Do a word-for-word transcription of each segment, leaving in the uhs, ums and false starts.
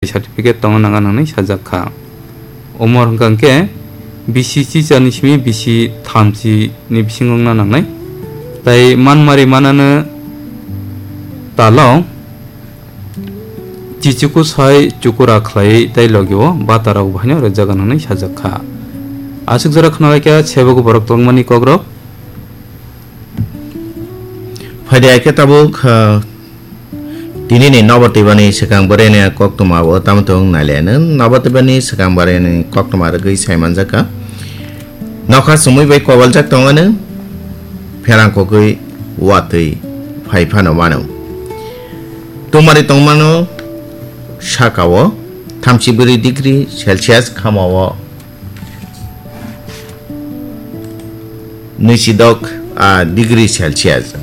certificate tongna nang nang hinwi sajak kha. Umor hwnkha khe bisi chichani simi bisi thamchi ni bisingo wngna nangnai. Tai manmari manano talo chichuku sai chukura khlaiwi tai logi o bata rok bahaino rwjak nang hinwi sajak kha. Aswk jora khna lai kha sebo borok tongmani kok rok. Phaidi hai khe tabuk, ah, tini ni Nobar Twibani swkang bwrwi ni koktwma o tamo tong nai le no. Nobar Twibani swkang bwrwi ni koktwma rwgwi sai manjak kha. Nokha sumui bai kobaljak tong ano, pherang kogwi watwi phai phano mano. Tumari tongmano saka o thamchi bwrwi degree Celsius, khama o nwisidok, ah, degree Celsius.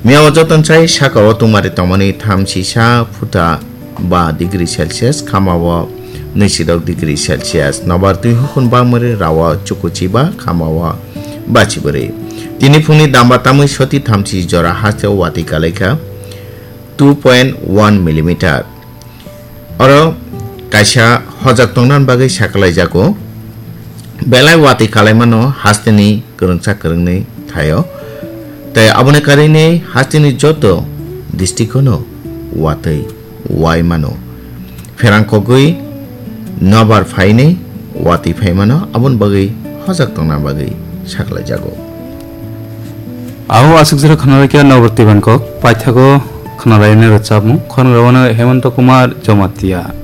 Miya o joton sai saka o tumari tongmani thamchi sa phuta ba degree Celsius, khama o nwisidok degree Celsius. Nobar twi hukun bangmari rawa chukuchi ba khama o bachi bwrwi. Tini phungni damba tamwi soti thamchi jora haste o watwi kalaikha two point one millimeter. Oro kaisa hojak tongna bagwi sakalaijago. Belai watwi kalaimano hasteni kwrwngsa kwrwngnwi thaio. Tei aboni karwi hasteni joto district-o no watwi wai mano. Pherang kogwi nobar phainwi watwi phai mano, aboni bagwi hojak tongna bagwi saklaijago. Abo aswk jora khna lai khe Nobar Twibani kok, paithago khna lai nai rwchapmung, khorang rawano Hemanta Kumar Jamatia.